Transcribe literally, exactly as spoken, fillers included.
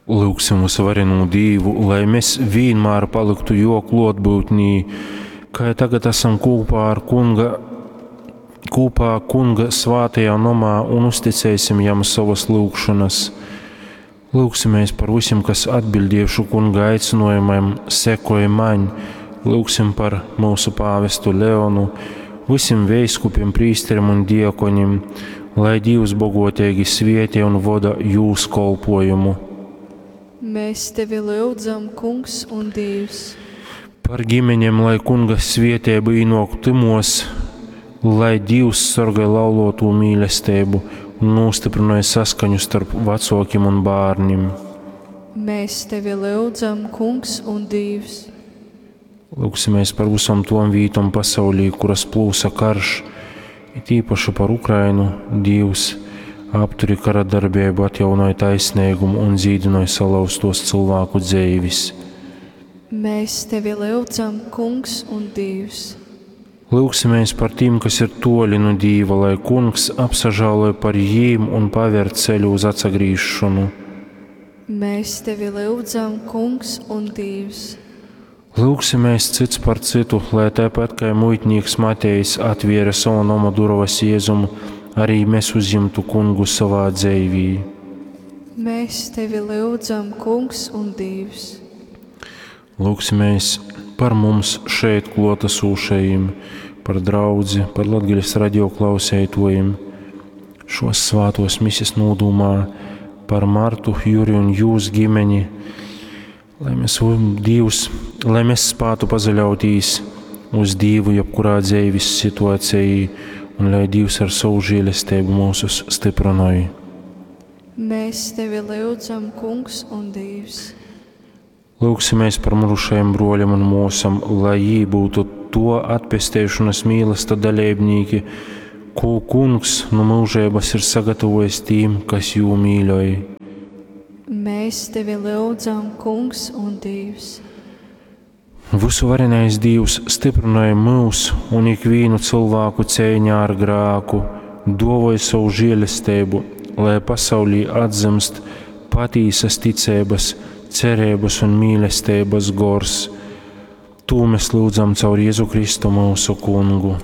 Lūgsim vysuvarenū Dīvu, lai mēs vīnmār palyktu Jō klōtbyutnī, kai tagad asam kūpā ar Kunga, kūpā Kunga svātajā nomā un uzticēsim Jam sovas lyugšonas. Lūgsimies par visiem, kas atbildējuši Kunga aicinājumam, sekoj maņ. Lūgsim par mūsu pāvestu Leonu, visiem veiskupiem, prīsteriem un diakonim, lai Dievs bogotīgi svietī un voda jūs kolpojumu. Mēs tevi lyudzam, Kungs un Dievs. Par ģimeņiem, lai Kunga svietēba īnok tymos, lai Dievs sargāj laulotū mīlestību un nostiprināja saskaņu starp vecākiem un bērniem. Mēs tevi lyudzam, Kungs un Dievs. Lūgsimies par visam tom vītom pasaulī, kuras plūsa karš, it īpaši par Ukrainu. Dievs apturi kara darbību, atjaunoja taisnīgumu un dzīdināja salauztos cilvēku dzīves. Mēs tevi lyudzam, Kungs un Dievs. Lūgsimies par tiem, kas ir toļi no Dieva, lai Kungs apsažāloja par jīm un paver ceļu uz atsagrīzšanu. Mēs tevi lyudzam, Kungs un Dievs. Lūgsimies cits par citu, lai tāpat kā muitnieks Matejs atviera savu noma durovas Jēzumu, arī mēs uzņemtu Kungu savā dzīvī. Mēs tevi lyudzam, Kungs un Dievs. Lūgsimies par mums šeit klātesošajiem, par draudzi, par Latgales radio klausētojiem, šos svātos mises nodūmā, par Martu, Juri un jūs ģimeni, lai mēs, Dievs, lai mēs spētu pazaļautīs uz Dievu jebkurā dzīves situācijā, un lai Dievs ar savu žēlestību mūsus stiprināja. Mēs tevi lyudzam, Kungs un Dievs. Lūgsimies par mirušajiem broļiem un mūsam, lai jī būtu to atpestēšanas mīlesta dalībnieki, ko Kungs no mūžības ir sagatavojis tīm, kas jū mīļoj. Mēs tevi lyudzam, Kungs un Dievs. Visuvarenais Dievs stiprināja mūs un ikvienu cilvēku cīņā ar grāku, dovoja savu žēlestību, lai pasaulī atzimst patīsas ticības, cerības un mīlestības gors. Tū mēs lūdzam caur Jēzu Kristu mūsu kungu.